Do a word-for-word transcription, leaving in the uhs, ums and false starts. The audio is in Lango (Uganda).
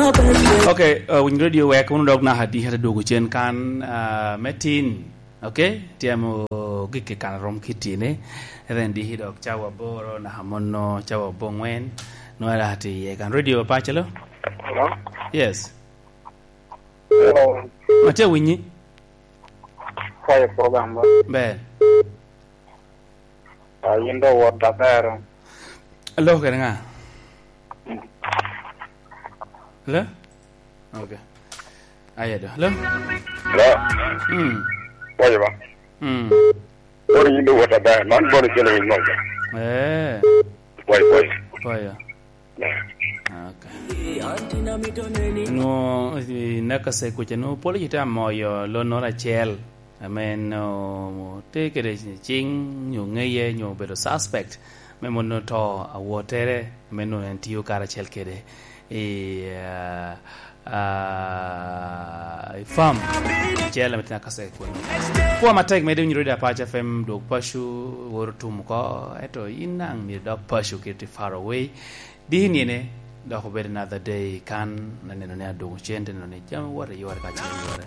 Ok, uh, winy radio wek wunu dok naka di hete dwogo cen kan, uh, me tin. Ok, tyemo gik i kan rom kitine. Ren di dok cawa aboro naka mono cawa abongwen. Nwara ti ye kan radio pa pacelo. Hello? Yes. Hello. Atye winyi. Kwayo program ba. Ber. Ah, yin do wot da bero. Alo kere nga? Hello? Ok. Aye do. Hello? Hello? Mm. Kwayo ba. Mm. Boro yin do wot da bero. Man boro chelo yin mo. Eh. Kwayo, kwayo. Kwayo. Yeah. Ok. Nwo, i naka se kuca nwo polo ci te amoyo lo noro acel. Ame en, o, te kede cing, nyo ngeye, nyo obedo suspect, me mono to awotere, ame nwoŋo en tio karacel kede i, ah, ah, i farm acel ame tye Nakaseke kuno. Kwa matek mede winyo radio Apac F M dwog paco, woro tum oko, eto in naŋ myero idok paco kede tye far away. Diki niene, dok obedo another day kan, aneno ni adwogo cen, te neno ni jami woto i yore ka cen yore.